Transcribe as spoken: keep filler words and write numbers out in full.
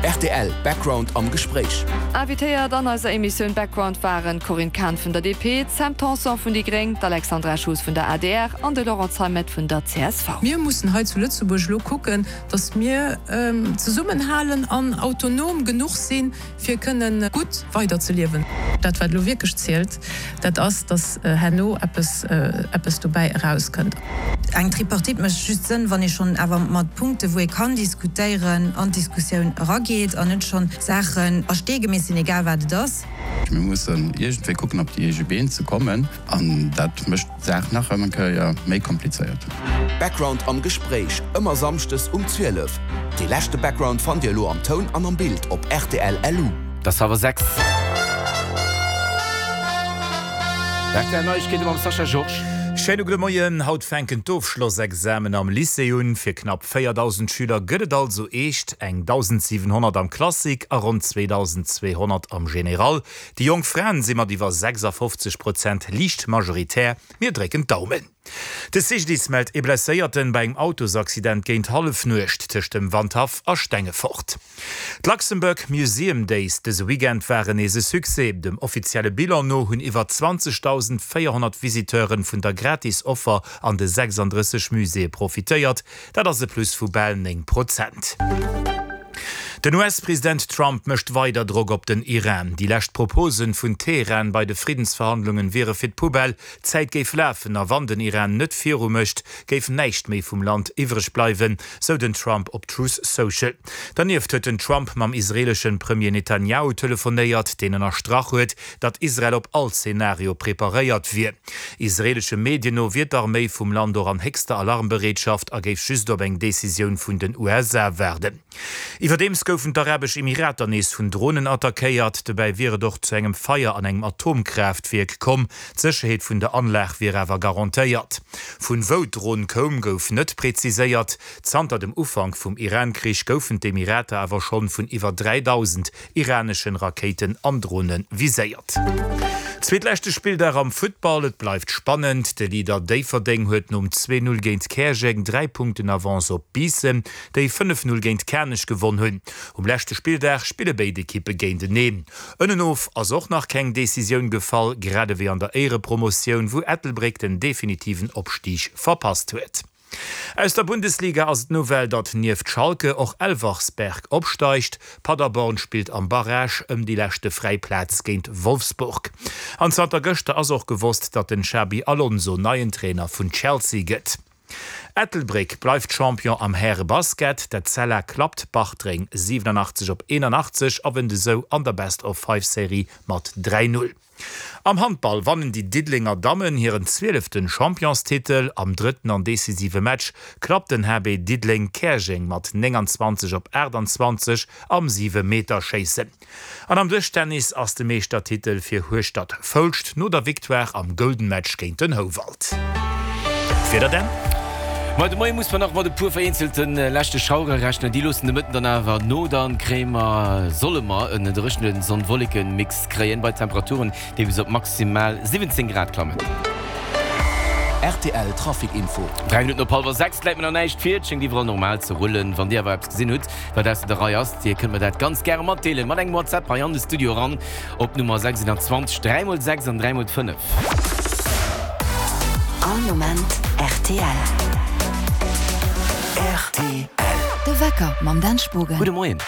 Rtl Background am Gespréich. Invitéiert an eiser Emissioun Background waren d'Corinne Cahen vun der D P, d'Sam Tanson vun déi Gréng, d'Alexandra Schoos vun der A D R an de Laurent Zeimet vun der C S V. Mir mussen hei zu Lëtzebuerg elo kucken, datt mir zesummenhalen an autonom genuch sinn, fir kënnen gutt weiderzeliewen. Dat wat elo wierklech zielt, dat ass, datt herno eppes eppes dobäi erauskënnt. Eng Tripartite mécht just Sënn, wann ee schonn awer mat Punkte wou ee kann diskutéieren, an d'Diskussioun erageet an net schonn Saachen a Stee gemeesselt sinn, egal wat et ass. Mir mussen iergendwéi kucken op déi eege Been ze kommen an dat mécht d'Saach nach eng Kéier méi komplizéiert. Background am Gespréich, ëmmer samschdes um zwielef. Dee leschte Background fannt Dir elo am Toun an am Bild op R T L L U. Et ass hallwer sechs. R T L Neiegkeete mam Sascha Georges. Schéine gudde Moien. Haut fänken d'Ofschlossexamen am Lycée un. Fir knapp véierdausend Schüler gëtt et also eescht, eng dausendsiwenhonnert am Classique a ronn zweedausendzweehonnert am Général. Déi jonk Fraen si mat iwwer sechsafofzeg Prozent liicht majoritär. Mir drécken d'Daumen. De C G D I S mellt ee Blesséierten bei engem Autosaccident géint Hallefnuecht tëscht dem Wandhaff a Stengefort. D'Luxembourg Museum Days dëse Weekend waren nees e Succès. Dem offizielle Bilan no hunn iwwer zwanzegdausendvéierhonnert Visiteure vun der Gratis-Offer an de sechsandrësseg Muséeë profitéiert. Dat ass e Plus vu bal néng Prozent. Den U S-President Trump mécht weider Drock op den Iran. Déi lescht Proposen vun Teheran bei de Friddensverhandlungen wiere fir d'Poubelle. D'Zäit géif lafen a wann den Iran net viru mécht, géif näischt méi vum Land iwwreg bleiwen, sou den Trump op Truth Social. Dernieft huet den Trump mam israeeleschen Premier Netanyahu telefonéiert, deen ënnerstrach huet, datt Israel op all Zenario preparéiert wier. Israeelesche Medien no wier d'Arméi vum Land och an héchster Alarmbereetschaft a géif just op eng Decisioun vun den U S A waarden. Iwwerdeems goufen d'Arabesch Emirater nees vun Dronen attackéiert. Dobäi wier et och zu engem Feier an engem Atomkraaftwierk komm. D'Sécherheet vun der Anlag wier awer garantéiert. Vun wou d'Dron koum, gouf net präziséiert. Zanter dem Ufank vum Iran-Krich goufen d'Emirater awer schonn vun iwwer dräidausend iraneschen Rakéiten an Drone viséiert. Zweetleschte Spilldag am Futtball, et bleift spannend. De Leader Déifferdeng huet nom zwee Null géint Käerjeng dräi Punkten Avance op Biissen, déi fënnef Null géint Kanech gewonn hunn. Um leschte Spilldag spille béid Ekippe géinteneen. Ënnenof ass och nach keng Decisioun gefall, grad ewéi an der Éierepromotioun, wou Ettelbréck den definitiven Opstig verpasst huet. Aus der Bundesliga ass et d'Nouvelle, datt nieft Schalke och Elversberg opsteigt. Paderborn spillt am Barrage ëm déi leschte fräi Plaz géint Wolfsburg. An zanter gëschter ass och gewosst, datt den Xabi Alonso neien Trainer vun Chelsea gëtt. Ettelbréck bleift Champion am Härebasket. D'Etzella klappt Bartreng siwenanachtzeg op eenanachtzeg a wënnt esou an der Best-of-Five-Serie mat dräi Null. Am Handball wannen déi Diddelenger Dammen hiren zwieleften Championstitel. Am drëtten an decisive Match klappt den H B Diddeleng Käerjeng mat nénganzwanzeg op aachtanzwanzeg am Siwemeterschéissen. An am Dëschtennis ass de Meeschtertitel fir Hueschtert-Foulscht no der Victoire am Golden Match géint den Houwald. D'Wieder dann. Ma de Moie muss mer nach mat e puer vereenzelte leschte Schauere rechnen. Déi loossen de Mëtten dann awer no. Dann kréie mer, solle mer en dréchene Sonn-Wolleken-Mix kréien, bei Temperaturen, déi bis op maximal siwwenzéng Grad klammen. R T L Trafic Info. Dräi Minutten op hallwer sechs, läit mir nach näischt vir. Et schéngt iwwerall normal ze rullen. Wann Dir awer eppes gesinn hutt, wat ausser der Rei ass, Dir kënnt mer dat ganz gäre matdeelen mat engem WhatsApp hei an de Studio eran op d'Nummer sechsundzwanzeg dräi mol sechs an dräi mol fënnef. All Moment R T L. R T L. De Wecker mam Dan Spogen. Gudde Moien.